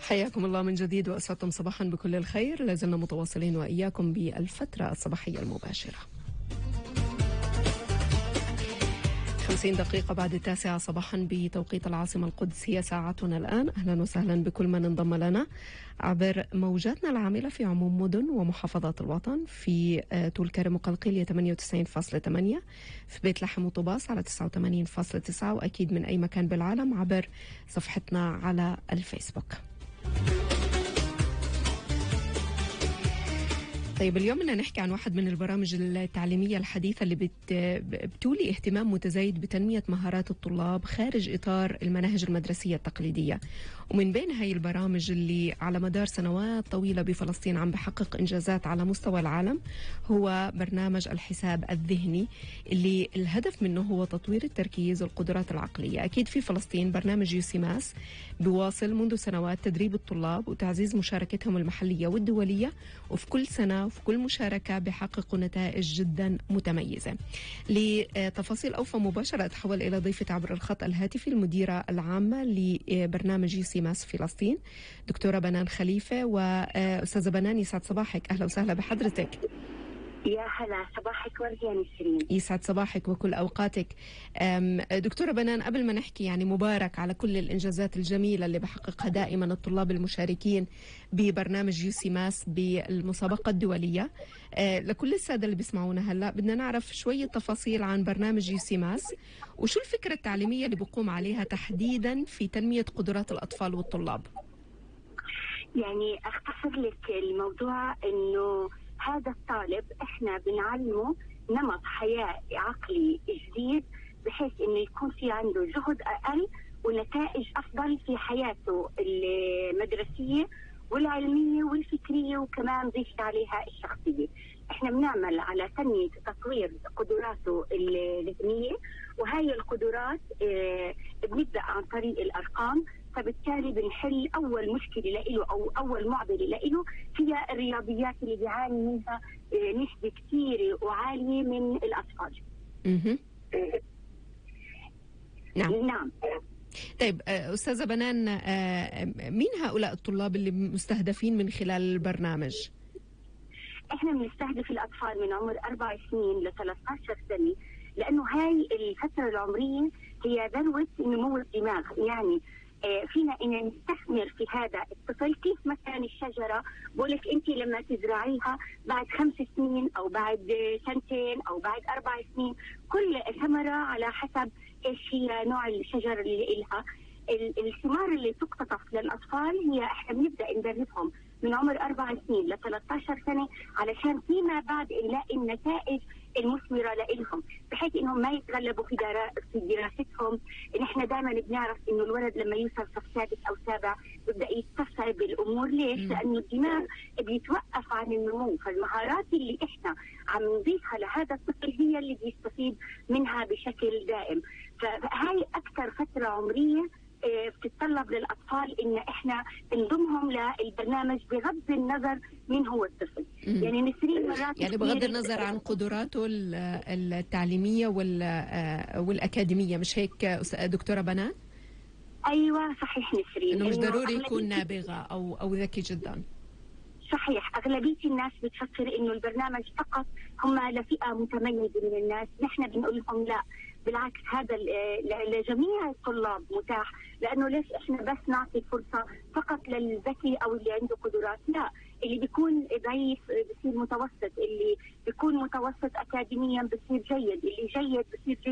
حياكم الله من جديد وأسعدتم صباحا بكل الخير. لازلنا متواصلين وإياكم بالفترة الصباحية المباشرة. 50 دقيقة بعد 9 صباحا بتوقيت العاصمة القدس هي ساعتنا الآن. أهلا وسهلا بكل من انضم لنا عبر موجاتنا العاملة في عموم مدن ومحافظات الوطن. في طول كرم وقلقيلية 98.8، في بيت لحم وطباس على 89.9، وأكيد من أي مكان بالعالم عبر صفحتنا على الفيسبوك. طيب اليوم بدنا نحكي عن واحد من البرامج التعليمية الحديثة اللي بتولي اهتمام متزايد بتنمية مهارات الطلاب خارج إطار المناهج المدرسية التقليدية. ومن بين هاي البرامج اللي على مدار سنوات طويلة بفلسطين عم بحقق إنجازات على مستوى العالم هو برنامج الحساب الذهني، اللي الهدف منه هو تطوير التركيز والقدرات العقلية. أكيد في فلسطين برنامج يوسيماس بيواصل منذ سنوات تدريب الطلاب وتعزيز مشاركتهم المحلية والدولية، وفي كل سنة وفي كل مشاركة بيحققوا نتائج جدا متميزة. لتفاصيل أوفى مباشرة أتحول إلى ضيفة عبر الخط الهاتفي المديرة العامة لبرنامج يوسيماس فلسطين دكتورة بنان خليفة. وأستاذة بنان يسعد صباحك، أهلا وسهلا بحضرتك. يا هلا، صباحك ورد يا نسرين. يسعد صباحك وكل أوقاتك. دكتورة بنان، قبل ما نحكي يعني مبارك على كل الإنجازات الجميلة اللي بحققها دائما الطلاب المشاركين ببرنامج يوسيماس بالمسابقة الدولية. لكل السادة اللي بيسمعونا هلأ بدنا نعرف شوية تفاصيل عن برنامج يوسيماس وشو الفكرة التعليمية اللي بقوم عليها تحديدا في تنمية قدرات الأطفال والطلاب. يعني أختصر لك الموضوع إنه هذا الطالب احنا بنعلمه نمط حياة عقلي جديد بحيث انه يكون في عنده جهد اقل ونتائج افضل في حياته المدرسية والعلمية والفكرية، وكمان ضيف عليها الشخصية. احنا بنعمل على تنمية تطوير قدراته الذهنية، وهي القدرات بنبدأ عن طريق الارقام. فبالتالي بنحل أول مشكلة لإله أو أول معضلة لإله هي الرياضيات اللي بيعاني منها نسبة كثيرة وعالية من الأطفال. نعم. طيب أستاذة بنان، مين هؤلاء الطلاب اللي مستهدفين من خلال البرنامج؟ احنا بنستهدف الأطفال من عمر 4 سنين ل 13 سنة، لأنه هاي الفترة العمرية هي ذروة نمو الدماغ. يعني فينا إن نستثمر في هذا الطفل كيف مثلا الشجرة بقولك أنت لما تزرعيها بعد 5 سنين أو بعد 2 سنين أو بعد 4 سنين، كل ثمرة على حسب إيش هي نوع الشجر اللي إلها. الثمار اللي تقتطف للأطفال هي إحنا بنبدأ ندربهم من عمر 4 سنين ل 13 سنة علشان فيما بعد نلاقي النتائج المثمرة لإلهم، بحيث إنهم ما يتغلبوا في دراستهم. إن إحنا دائما بنعرف إنه الولد لما يوصل صف 6 أو 7 بيبدأ يستصعب الأمور. ليش؟ لأنه الدماغ بيتوقف عن النمو. فالمهارات اللي إحنا عم نضيفها لهذا الطفل هي اللي بيستفيد منها بشكل دائم. فهاي أكثر فترة عمرية بتتطلب للأطفال إن إحنا نضمهم للبرنامج بغض النظر من هو الطفل. يعني نسرين مرات يعني بغض النظر عن قدراته التعليمية والأكاديمية، مش هيك دكتورة بنان؟ أيوة صحيح نسرين، إنه مش ضروري يكون نابغة أو ذكي جدا. صحيح، أغلبية الناس بتفكر إنه البرنامج فقط هم لفئة متميزة من الناس. نحن بنقول لهم لا، بالعكس هذا لجميع الطلاب متاح. لأنه ليش إحنا بس نعطي فرصة فقط للذكي أو اللي عنده قدرات؟ لا، اللي بيكون ضعيف بصير متوسط، اللي بيكون متوسط أكاديميا بصير جيد، اللي جيد بصير جيد